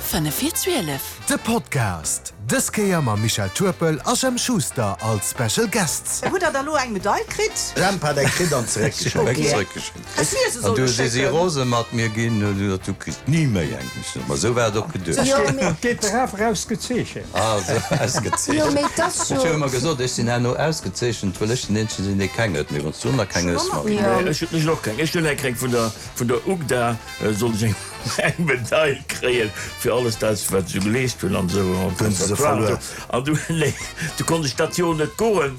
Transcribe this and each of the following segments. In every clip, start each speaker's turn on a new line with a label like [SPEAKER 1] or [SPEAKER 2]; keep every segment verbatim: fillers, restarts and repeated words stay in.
[SPEAKER 1] Fënnef vir zwielef.
[SPEAKER 2] De Podcast, dës Kéier mam Michel Turpel a Jemp Schuster als Special Guests.
[SPEAKER 3] Hutt der da lo eng Medail kritt?
[SPEAKER 4] Jemp hat eng kritt an zeréckgeschéckt.
[SPEAKER 3] Häss mir se
[SPEAKER 4] An
[SPEAKER 3] solle
[SPEAKER 4] du si si
[SPEAKER 3] schécken.
[SPEAKER 4] rose mat mir ginn, hunn se gesot, du kriss ni méi eng. Ech sot, ma esou war et och geduecht.
[SPEAKER 5] Jo, mee.
[SPEAKER 6] Geet der awer ausgezeechent.
[SPEAKER 4] Ah, esou ausgezeechent.
[SPEAKER 5] Jo, mee et ass
[SPEAKER 4] Ech
[SPEAKER 5] jo.
[SPEAKER 4] hu ëmmer gesot, ech sinn herno ausgezeechent, well ech den eenzege sinn, dee keng huet. Mee wann s du nach keng hues, Marie.
[SPEAKER 5] Jo.
[SPEAKER 7] Ech hunn och keng. Ech hunn eng kréien vun der, vun der UGDA, sollt ech eng. Eng Medail kréien fir alles dat wat se geleescht hunn an esou am Conservatoire. An du, nee, du konnt ech dat Joer net goen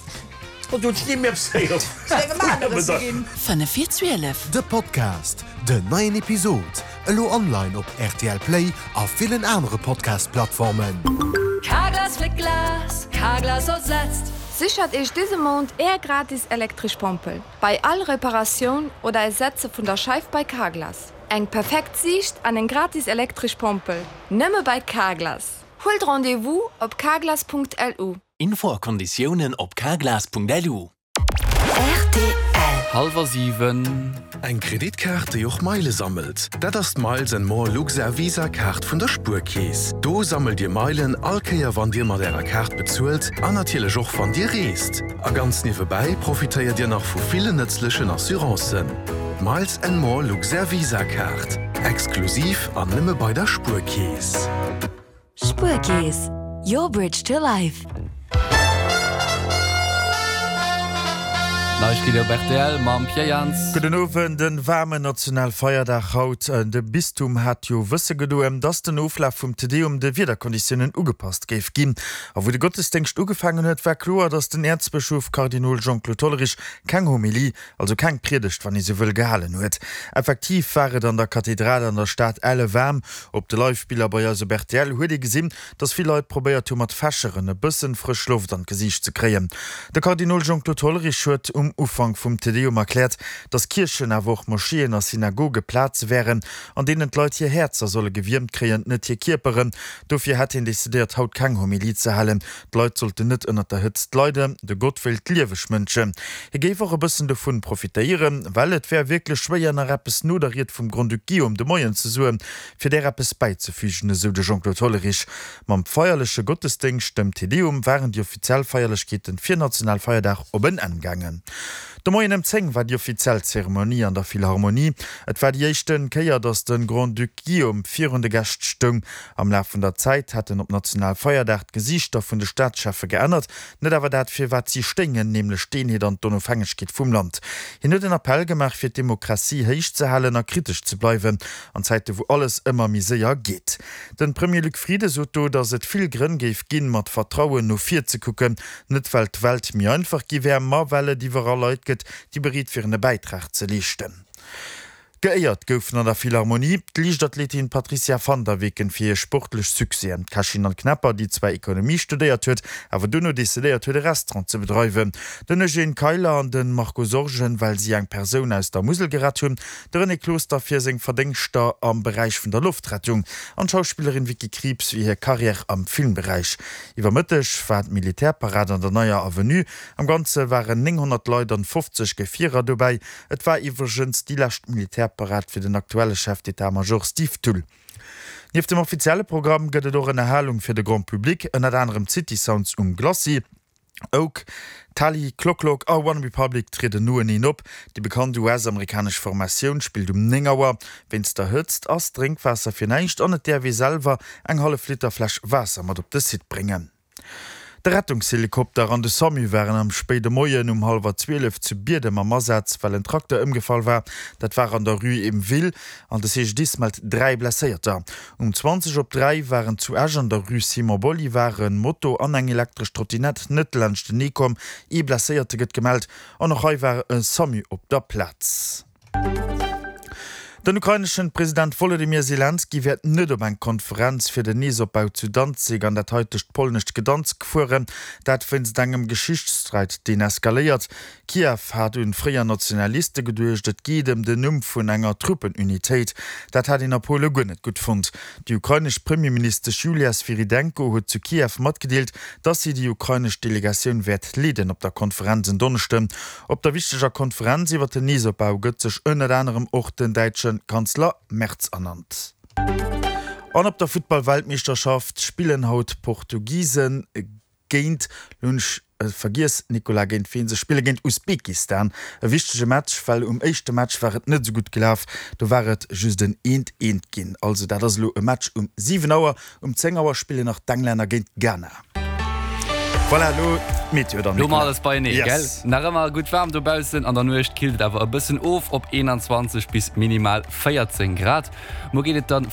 [SPEAKER 7] an du hunn ech ni méi eppes héieren vun der Medail.
[SPEAKER 1] Fënnef vir zwielef.
[SPEAKER 2] De Podcast, Den neien Episod elo online op rtl Play a villen anere Podcast-Plattformen.
[SPEAKER 8] Carglass fléckt Glas, Carglass ersetzt.
[SPEAKER 9] Séchert Iech dëse Mount Är gratis elektresch Pompel bei all Reparatioun oder Ersetze vun der Scheif bei Carglass. Eng perfekt Siicht an eng gratis elektresch Pompel, nëmme bei Carglass. Huelt Rendez-vous op carglass.lu.
[SPEAKER 10] Info a Konditiounen op carglass.lu.
[SPEAKER 1] Rtl.
[SPEAKER 11] Hallwer siwen.
[SPEAKER 12] Eng Kreditkaart, déi och Meile sammelt? Dat ass d'Miles and More Luxair Visa Kaart vun der Spuerkeess. Do sammelt Dir Meilen all Kéier wann Dir mat Ärer Kaart bezuelt an natierlech och wann Dir reest. A ganz niewebäi profitéiert Dir nach vu villen nëtzlechen Assurancen. D'Miles and More Luxair Visa Kaart, exklusiv an nëmme bei der Spuerkeess.
[SPEAKER 8] Spuerkeess, your bridge to life.
[SPEAKER 11] Neiegkeeten op rtl mam Pierre Jans.
[SPEAKER 13] Gudden Owend, En waarmen Nationalfeierdag haut. De Bistum hat jo wësse gedoen, dass den Oflaf vum Te Deum de Wiederkonditiounen ugepasst géif ginn. A wou de Gottesdéngscht ugefaangen huet, war kloer, dass den Äerzbëschof Kardinol Jean-Claude Hollerich keng Homilie, also keng Priedegt, wann ee sou wëll, gehalen huet. Effektiv war et an der Kathedral an der Stad elle waarm. Op de Live-Biller bei eis op rtl huet ee gesinn, dass vill Leit probéiert hu mat Fächeren e bëssen frësch Loft an d'Gesiicht ze kréien. De Kardinol Jean-Claude Hollerich huet um Ufank vum Te Deum erkläert, dass Kierchen, awer och Moscheeën a Synagoge Plaze wären, an deenen d'Leit hir Häerzer solle gewiermt kréien, net hir Kierperen. Dofir hätt hien decidéiert, haut keng Homilie ze halen. D'Leit sollten net ënnert der Hëtzt leiden, de Gott wéilt lieweg Mënschen. Hie géif och e bëssen dovun profitéieren, well et wär wierklech schwéier, nach eppes no der Ried vum Grand-Duc Guillaume de Moien ze soen, fir där eppes bäizefügen, esou de Jean-Claude Hollerich. Mam feierleche Gottesdéngscht, dem Te Deum, waren déi offiziell Feierlechkeeten fir Nationalfeierdag op en Enn gaangen. De Moien ëm zéng war déi offiziell Zeremonie an der Philharmonie. Et war déi éischte Kéier, datt de Grand-Duc Guillaume virun de Gäscht stoung. Am Laf vun der Zäit hätten op Nationalfeierdag d'Gesiichter vun de Staatscheffe geännert, net awer dat fir wat si stéingen, nämlech d'Eenheet an d'Onofhängegkeet vum Land. Hien huet en Appell gemaach, fir d'Demokratie héich ze halen a kritesch ze bleiwen an Zäite wou alles ëmmer méi séier geet. De Premier Luc Frieden sot do, datt et vill Grënn géif ginn, mat Vertrauen no vir ze kucken, net well d'Welt méi einfach gi wär, ma well et iwwerall Leit gëtt, déi bereet wieren e Bäitrag ze leeschten. Geéiert goufen an der Philharmonie d'Liichtathletin Patricia van der Weken fir hir sportlech Succèsen, d'Kächin Anne Knepper, déi zwar Ekonomie studéiert huet, awer duerno decidéiert huet e Restaurant ze bedreiwen, den Eugène Keiler an de Marco Sorgen, well si eng Persoun aus der Musel gerett hunn, de René Closter fir seng Verdéngschter am Beräich vun der Loftrettung an d'Schauspillerin Vicky Krieps fir hir Karriär am Filmberäich. Iwwer Mëtteg war d'Militärparad an der Neier Avenue. Am Ganze waren nénghonnert Leit an fofzeg Gefierer dobäi. Et war iwwregens déi lescht Militärparad fir den aktuelle Chef d'état-major Steve Thull. Nieft dem offizielle Programm gëtt et och Ënnerhalung fir de Grand Public, ënnert anerem d'City Sounds um Glacis. Oak, Tali, Clock Lock a OneRepublic trieden noeneen op. Déi bekannt U S-amerikanesch Formatioun spillt um néng Auer. Wéinst der Hëtzt ass Drénkwaasser fir näischt an et däerf ee selwer eng hallef Liter Fläsch Waasser mat op de Site bréngen. De Rettungshelikopter an de Samu waren am spéide Moien um hallwer zwielef zu Biedem am Asaz, well en Trakter ëmgefall war. Dat war an der Rue Im Will an de C G D I S mellt dräi Blesséierter. Um zwanzeg op dräi waren zu Esch an der Rue Simon Bolivar en Moto an eng elektresch Trottinett net laanschtenee komm. Ee Blesséierte gëtt gemellt an och hei war e Samu op der Plaz. Den ukraineschen President Wolodymyr Selenskyj wäert net op eng Konferenz fir den Neesopbau zu Danzig an dat haitegt polnescht Gdansk fueren. Dat wéinst engem Geschichtssträit, deen eskaléiert. Kiew hat un fréier Nationaliste geduecht, et geet ëm den Numm vun enger Truppenunitéit. Dat hat een a Pole guer net gutt fonnt. Déi ukrainesch Premierministesch Julia Swyrydenko huet zu Kiew matgedeelt, datt si déi ukrainesch Delegatioun wäert leeden op der Konferenz en Donneschden. Op der wichteger Konferenz iwwer den Neesopbau gëtt sech ënnert anerem och den däitsche Kanzler Merz ernannt. An op der Futtball-Weltmeeschterschaft spillen haut d'Portugisen géint, lo hunn ech vergiess, Nicolas, géint ween se spillen, géint Usbekistan. E wichtege Match, well um éischte Match war et net esou gutt gelaf, do war et just en eent eent ginn. Also dat ass elo e Match um siwen Auer. Um zéng Auer spillen nach d'Englänner géint Ghana. Voilà, elo d'Meteo dann,
[SPEAKER 11] Lo hu mer
[SPEAKER 13] Nicolas.
[SPEAKER 11] alles beienee, gell?
[SPEAKER 13] Yes.
[SPEAKER 11] Nach ëmmer gutt waarm dobaussen, an der Nuecht killt et awer e bëssen of op eenanzwanzeg bis minimal véierzéng Grad. Muer geet et dann.